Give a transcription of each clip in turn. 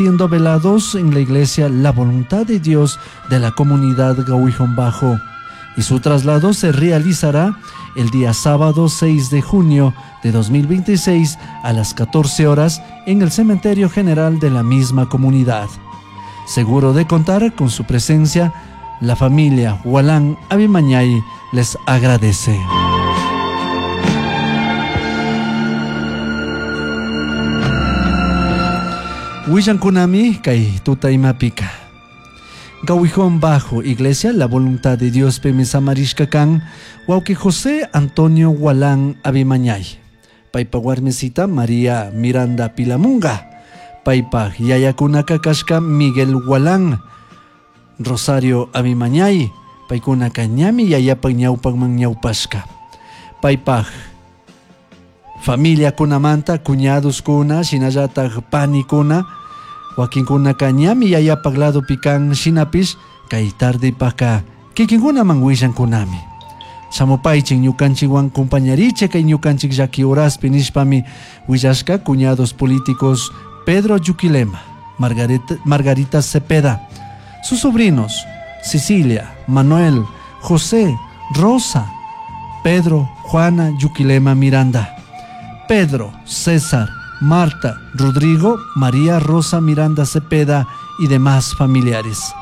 siendo velados en la iglesia La Voluntad de Dios de la comunidad Gahuijón Bajo y su traslado se realizará el día sábado 6 de junio de 2026 a las 14 horas en el cementerio general de la misma comunidad. Seguro de contar con su presencia, la familia Hualán Abimañay les agradece. Willankunami kay tuta imapika. Gawijón Bajo, Iglesia La Voluntad de Dios Samarishka kan, wawqi José Antonio Hualán Abimañay. Paypa warmisita María Miranda Pilamunga. Paypa yayakunaka kashka Miguel Hualán, Rosario Abimañay. Paykunaka ñami yayapak ñawpakman ñawpashka. Paypaj familiakunamanta cuñadoskuna shinallatak panikuna wakinkunaka ñami yayapak ladopi kan shinapish kay tardepaka kikinkunaman willankunami. Shamupaychik ñukanchikwan compañarichik kay ñukanchik llaki horaspi nishpami willashka cuñados políticos Pedro Yuquilema, Margarita Cepeda, sus sobrinos Cecilia, Manuel, José, Rosa, Pedro, Juana Yuquilema Miranda, Pedro, César, Marta, Rodrigo, María Rosa Miranda Cepeda y demás familiares.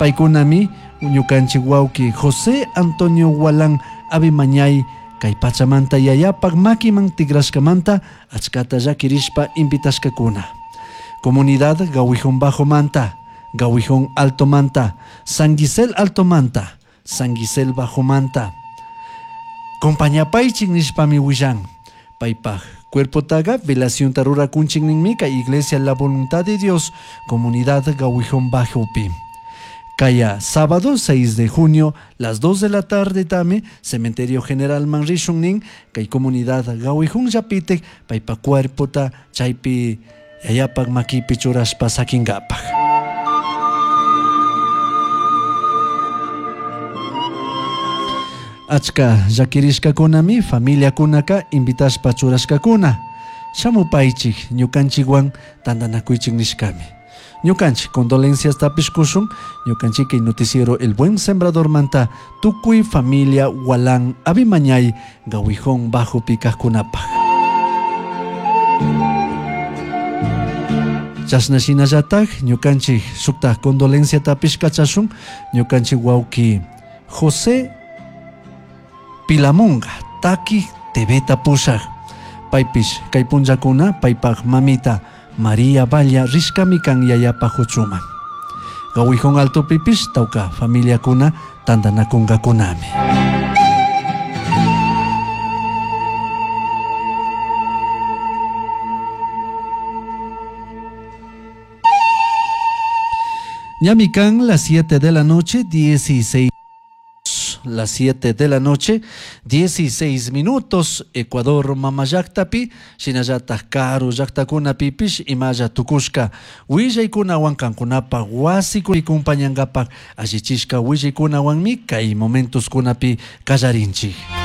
Paykunami, ñukanchik wawqi José Antonio Hualán Abimañay kay pachamanta yayapak makiman tigrashkamanta achkata llakirishpa invitashkakuna. Comunidad Gawijón Bajo Manta, Gawijón Alto Manta, San Gisel Alto Manta, San Gisel Bajo Manta. Compañapaychik nishpami willan. Paypaj cuerpotaga velación rurakunchik ninmi kay Iglesia La Voluntad de Dios, Comunidad Gawijón Bajopi. Kaya sábado 6 de junio, las 2 de la tarde tame, Cementerio General Manrishun nin, kay Comunidad Gawijón Yapite, paypa cuerpota chaypi yayapak makipi churashpa sakingapak. Achka llakirishkakunami familiakunaka invitashpa churashkakuna. Shamupaychik ñukanchikwan tantanakuychik nishkami. Ñukanchik condolencias tapish kushun, ñukanchik kay noticiero El Buen Sembrador manta tukuy familia Hualán Abimañay Gawijón Bajo kajkunapaj. Chashna shinallatak ñukanchik shuktaj condolencia tapish kachashun, ñukanchik wawqi José Pilamunga, taki TV pushaj. Paypish kay punllakuna paypaj mamita María Valla rishkami kan yayapaj huchuman. Gawijón Altopipish tawka familiakuna tantanakunkakunami. Ñami kan las 7 de la noche, 16. Las 7 de la noche, 16 minutos, Ecuador mamallaktapi, shinallatak karu llaktakunapipish imalla tukushka willaykunawan kankunapaj wasikunapi kumpañankapak allichishka willaykunawanmi kay momentoskunapi kallarinchik.